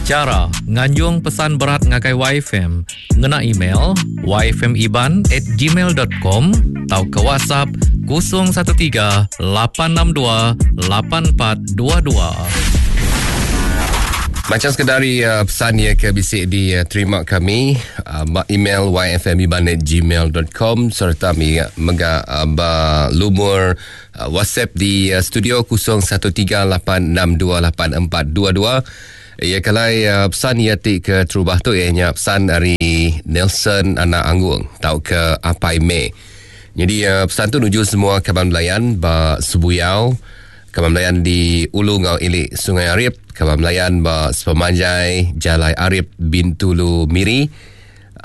Chara nganjung pesan berat ngagai YFM ngena email yfmiban@gmail.com tauka WhatsApp 013 862 8422. Macam sekeda ari uh, pesan ia ke bisi diterima kami uh, ba email yfmiban@gmail.com serta mega uh, ba lumur uh, WhatsApp di uh, studio 0138628422. Ia kelai uh, pesan ia ti ke terubah tu ia nya pesan ari Nelson Anak Anggung tauka Apai May. Jadi uh, pesan tu nuju semua kaban belayan ba Sebuyau, kaban belayan di Ulu ngau Ili Sungai Arip, kaban belayan ba sepemanjai Jalai Arip Bintulu Miri,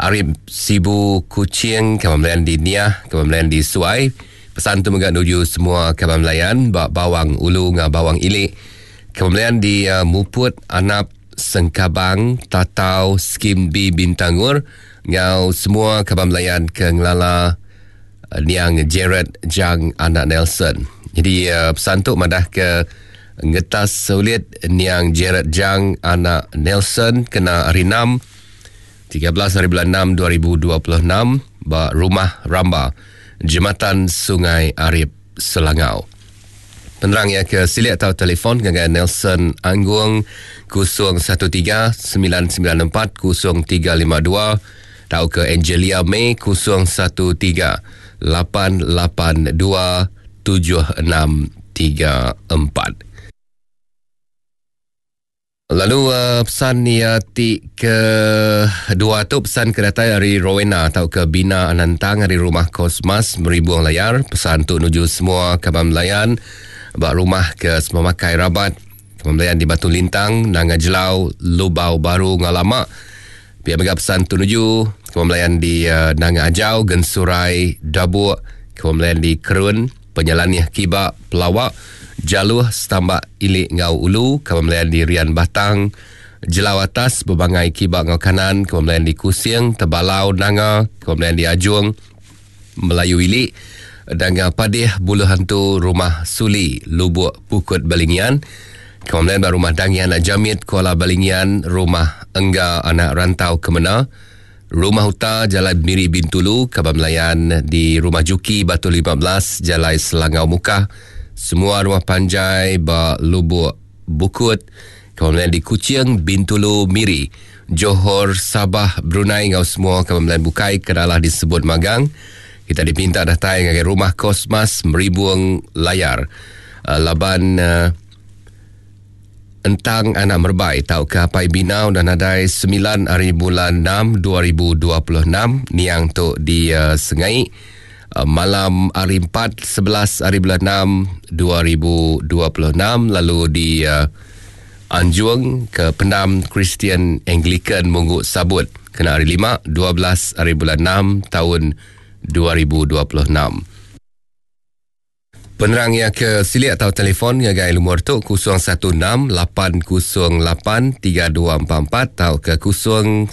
Arip Sibu Kuching, kaban belayan di Niah, kaban belayan di Suai. Pesan tu mega nuju semua kaban belayan ba Bawang Ulu ngau Bawang Ili, kaban belayan di uh, Muput, Anap, Sengkabang, Tatau, Skim B Bintangur ngau semua kaban belayan ke ngelala niang Jared Jang anak Nelson. Jadi uh, pesan tu madah ke ngetas sulit niang Jared Jang anak Nelson kena hari 6 13 hari bulan 6 2026 ba Rumah Ramba Jematan Sungai Arip Selangau. Penerang ia ke silik atau telefon ngagai Nelson Anggung 013 994 0352 atau ke Angelia May 013 882 7634. Lalu uh, pesan ia ti ke dua tu pesan ke datai ari Rowena atau ke Bina Anantang ari Rumah Kosmas Meribung Layar. Pesan tu nuju semua kaban belayan ba rumah ke Semamakai Rabat, kaban belayan di Batu Lintang, Nanga Jelau, Lubau Baru ngau Lama. Pia mega pesan tu nuju kaban belayan di uh, Nanga Ajau, Gensurai, Dabuk, kaban belayan di Kerun, Penyelanih Kiba, Pelawak, Jaluh, Setambak, Ilik ngau Ulu, kaban belayan di Rian Batang, Jelau Atas, Bebangai Kiba ngau Kanan, kaban belayan di Kusing, Tebalau, Nanga, kaban belayan di Ajung, Melayu Ilik, Danga Padih, Buluh Hantu, Rumah Suli, Lubuk Pukut Balingian, kaban belayan ba Rumah Dangi Anak Jamit, Kuala Balingian, Rumah Engga Anak Rantau Kemena, Rumah Uta, Jalai Miri Bintulu, Kaban Melayan di Rumah Juki, Batu 15, Jalai Selangau Mukah, semua rumah panjai ba Lubuk Bukut, Kaban Melayan di Kuching, Bintulu, Miri, Johor, Sabah, Brunei enggau semua kaban Melayan bukai ke dalah disebut magang. Kita dipinta datai ngagai Rumah Kosmas Meribung Layar laban Entang anak Merbai tauka Apai Bina udah nadai semilan ari bulan enam 2026 niang tu di uh, Sengai uh, malam hari empat 11 ari bulan enam 2026 lalu di uh, Anjung ke Pendam Kristian Anglican Munggu Sabut kena hari lima 12 ari bulan enam tahun 2026. Penerang iya ke silik atau telefon ngagai lumur tu 016 808 3244 tauka 016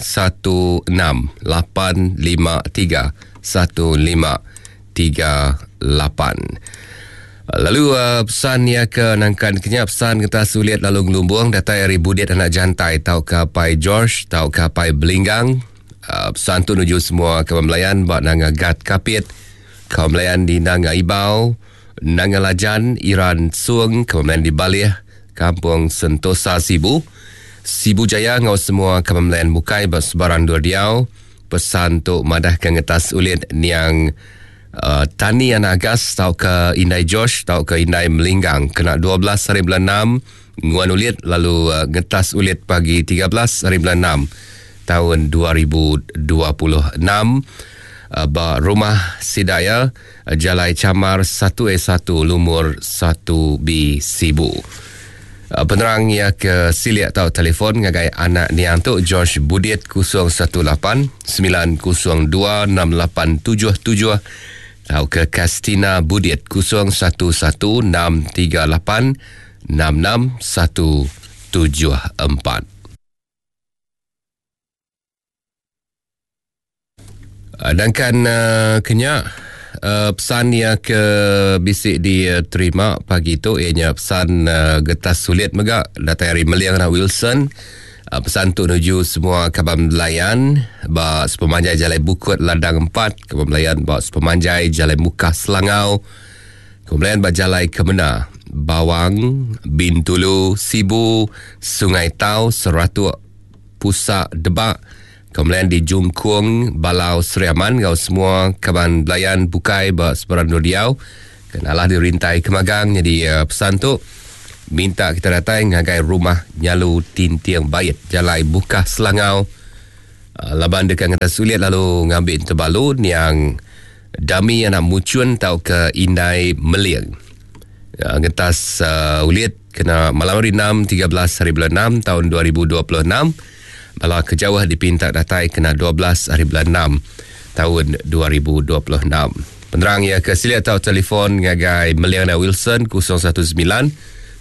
853 1538. Lalu uh, pesan iya ke nangkan kenya pesan kita sulit lalu ngelumbung datai ari Budit anak Jantai tauka Pai George tauka Pai Belinggang. Uh, pesan tu nuju semua kaban belayan ba Nanga Gat Kapit. Kaum Melayan di Nanga Ibau, Nanga Lajan, Iran Sung, Kaum Melayan di Balih, Kampung Sentosa Sibu, Sibu Jaya enggau semua kaban Melayan bukai ba sebarang endur diau. Pesan tu madahka ngetas ulit niang uh, Tani Anak Agas tauka Indai George tauka Indai Melinggang kena 12 hari bulan 6 nguan ulit lalu uh, ngetas ulit pagi 13 hari bulan 6 taun 2026 ba Rumah Sida iya, Jalai Chamar 1A1 Lumur 1B Sibu. Penerang iya ke silik tau telefon ngagai anak niang tu George Budit 018 902 6877 tauka Kastina Budit 011 638 66174. Dangkan uh, kenya uh, pesan ia ke bisi diterima pagi tu ianya pesan uh, getas sulit mega datai ari Meliang anak Wilson. Pesan tu nuju semua kaban belayan ba sepemanjai Jalai Bukut Ladang 4, kaban belayan ba sepemanjai Jalai Mukah Selangau, kaban belayan ba Jalai Kemena, Bawang, Bintulu, Sibu, Sungai Tau, Seratuk, Pusa, Debak, kaban belayan di Jungkung, Balau, Sri Aman enggau semua kaban belayan bukai ba sebarang endur diau. Kenalah dirintai kemagang nyadi pesan tu minta kita datai ngagai rumah Nyalu Tinting Bait Jalai Bukah Selangau laban deka ngena sulit lalu ngambi entebalu niang Dami anak Muchun tauka Indai Meling. Ngetas ulit kena malam hari 6 13 hari bulan 6 taun 2026 bala ke jauh dipinta datai kena 12 hari bulan 6 taun 2026. Penerang iya ke silik tau telefon ngagai Meliana Wilson 019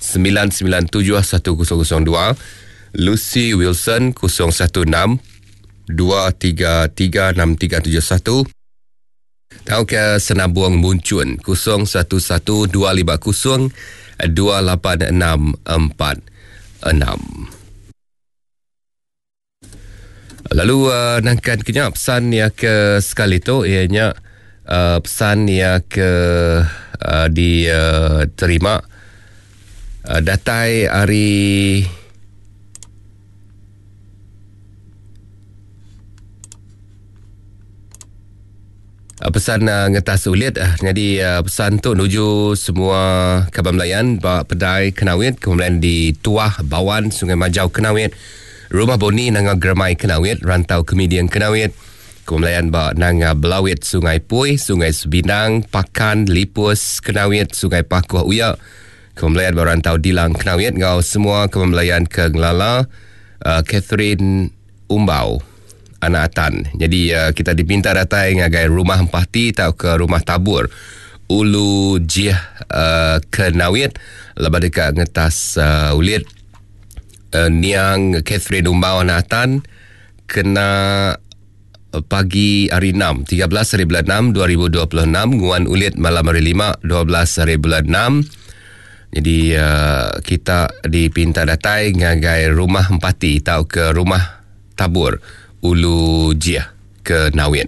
997 1002, Lucy Wilson 016 233 6371 tauka Senabung Munchun 011 250 28646. Lalu uh, nangkan kenya pesan ya ke sekali tu iya nya uh, pesan ya ke uh, diterima uh, datai ari Pesan ngetas ulit nyadi pesan tu nuju semua kaban belayan ba Pedai Kenawit kemudian di Tuah Bawan Sungai Majau Kenawit Rumah Boni Nanga Germai Kenawit Rantau Kemiding Kenawit kemudian ba Nanga Belawit Sungai Pui Sungai Sebinang Pakan Lipus Kenawit Sungai Pakuh Uya kemudian ba Rantau Dilang Kenawit enggau semua kaban belayan ke ngelala Catherine Umbau anak Atan. Nyadi kita dipinta datai ngagai Rumah Empati tauka Rumah Tabur Ulu Jih ke Nawit laban deka ngetas ulit niang Catherine Umbau anak Atan kena pagi hari 6, 13 hari bulan 6 2026 nguan ulit malam hari 5, 12 hari bulan 6. Jadi uh, kita dipinta datai ngagai rumah empati tauka rumah tabur Ulu Jih ke Nawit.